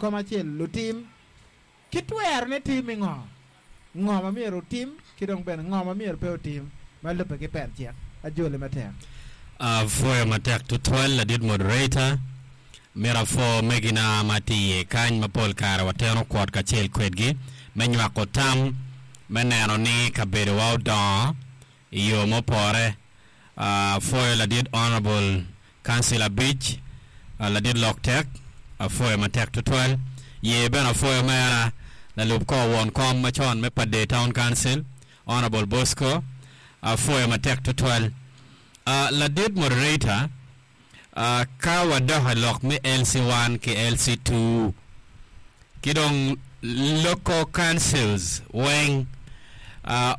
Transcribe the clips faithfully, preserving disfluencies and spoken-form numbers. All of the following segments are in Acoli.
Kom acel lutim ki twerone tim i ngo ngo ma myero otim ki dong bene ngo ma myero pe otim ma lubbe ki pen cik ajoli matek. Apwoyo matek tutwal ladit moderator. Myero apwo megina ma tye iye kany ma pol kare wateno kwot kacel kwedgi me nywako tam me neno ni kabedowa odongo i yo mupore. Apwoyo ladit Honourable Councillor abic, ladit Lok Tek, apwoyo matek tutwal. Ye bene apwoyo mera lalub kor won kom macon me Pader Town Council, Honourable Bosco, apwoyo matek tutwal. Ladit Moderator, ka wadok i lok me L C one ki L C two ki dong local councils weng,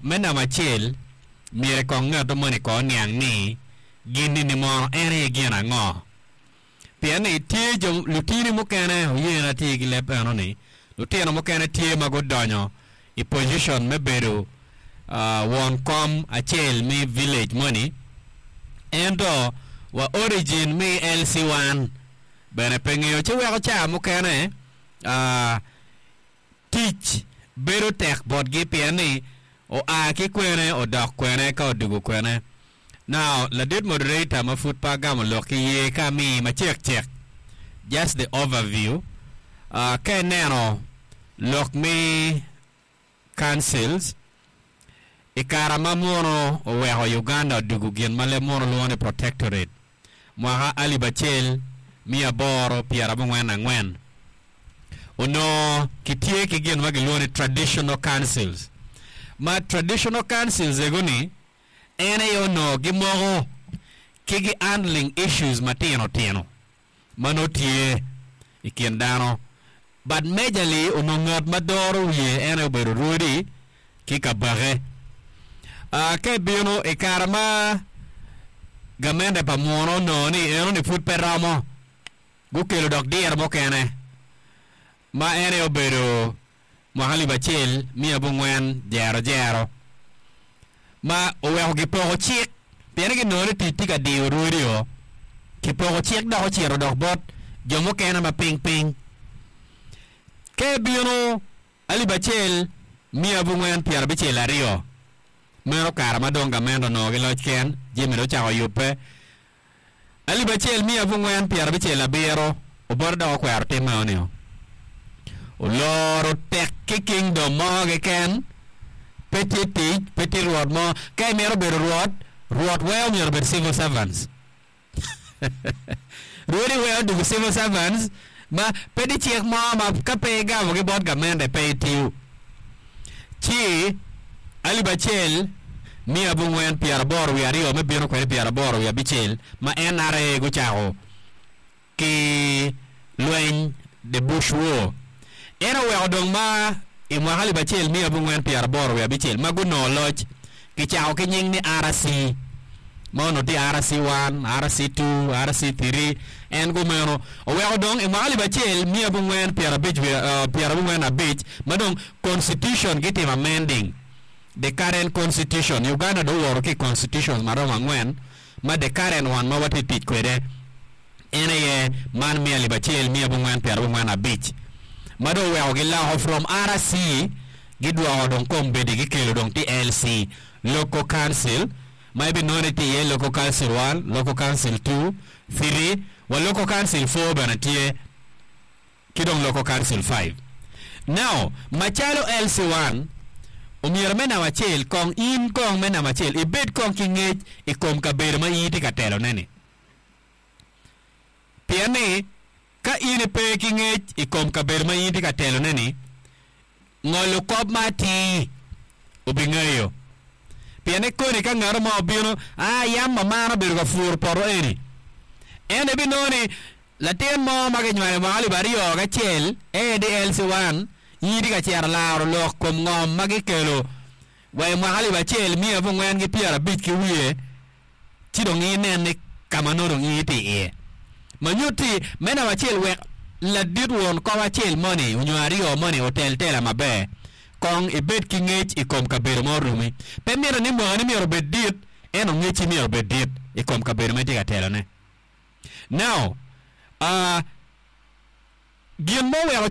me namba acel myero kong ngat moni kong oniang ni gin-ni mono en aye gin ango. Pien ni tye jo lutini mukene oye tye ki leb eno-ni, lutino mukene tye ma gudonyo i position me bedo won kom acel me village moni, ento wa origin me L C one bene pe ngeyo ci weko ca mukene tic bedo tek botgi pien ni oa ki kwene odok kwene ka odugo kwene. Now, ladit moderator ma pud pe agamo lok ki ye ka mi macek cek, just the overview, uh, ka ineno lok me councils i kare ma muno oweko Uganda odugo gin ma leb muno luongo ni protectorate mwaka alip acel miya aboro pyerabongwen angwen onongo kitye ki gin ma gilwongo ni traditional councils, ma traditional councils ego-ni en aye onongo gimoko ki gi handling issues matino tino ma nongo tye i kin dano, but majorly onongo ngat ma doro wiye en aye obedo rwodi ki kabake. uh, ka ibino i kare ma gamente pa muno onongo ni eno ni pud pe romo, gukelo dok diro mukene ma en aye obedo mwaka alip acel miya abongwen jero jero ma oweko gipoko cik pien ni ginongo ni tic tye ka diyo rwodi o kipoko cik dok ocito dok bot jo mukene ma piny piny. Ka ibino alip acel miya abongwen pyerabicel aryo, meno kare ma dong gamente onongo ki loc ken jami dong ocako yubbe. Alip acel miya abongwen pyerabicel abiro Obote dok okwero tim meno oloro tek ki kingdom mo keken pe tye tic pe tye rwot mo. Ka imito bedo rwot, rwot weo myero obed civil servants, rwodi weo dugo civil servants ma pe di cik mo ma ka pe igamo ki bot gamente pe itiyo. Ci alip acel miya abongwen pyeraboro wiye aryo me bino kwede pyeraboro wiye abicel ma N R A gucako ki lweny, the Bush War, en oweko dong ma i mwaka alip acel miya abongwen pyeraboro wiye abicel ma gunongo loc kicako ki nying ni R C ma onongo tye R C one, R C two, R C three. En gumeno oweko dong i mwaka alip acel miya abongwen pyerabic pyerabongwen abic ma dong constitution gitimo amending the current constitution. Uganda dong owoto ki constitutions maromo angwen ma the current one ma watye tic kwede en aye man miya alip acel miya abongwen pyerabongwen abic ma dong oweko giloko from R C gidwoko dong kombeddi gikelo dong ti L C, local council, ma ibinongo ni tye iye local council one, local council two, three wa local council four bene tye ki dong local council five. Now, macalo L C one omyero me namba acel kong in kong me namba acel ibed kong ki ngec i kom kabedo ma in itye ka telone-ni, pien ni ka in ipe ki ngec i kom kabedo ma in itye ka telone-ni, ngolo kop ma atir obingeyo, pien ni koni ka ngato mo obino a yam mamana obedo ka puro poto eni, en ibinongo ni latin mo ma kinywalo i mwaka alip aryo kacel en L C one in itye ka cito laro lok kom ngom ma gikelo wa i mwaka alip acel miya abongwen ki pyerabic ki wiye, ci dong inen ni ka ma nongo dong in itye iye ma nyutti me namba acel wek ladit won kom acel moni onyo aryo moni otel tela maber kong ibed ki ngec i kom kabedo ma orumi. Pe mito ni mwakani myero obed dit, ento ngecci myero obed dit i kom kabedo ma itye ka telone. Now, uh, gin ma oweko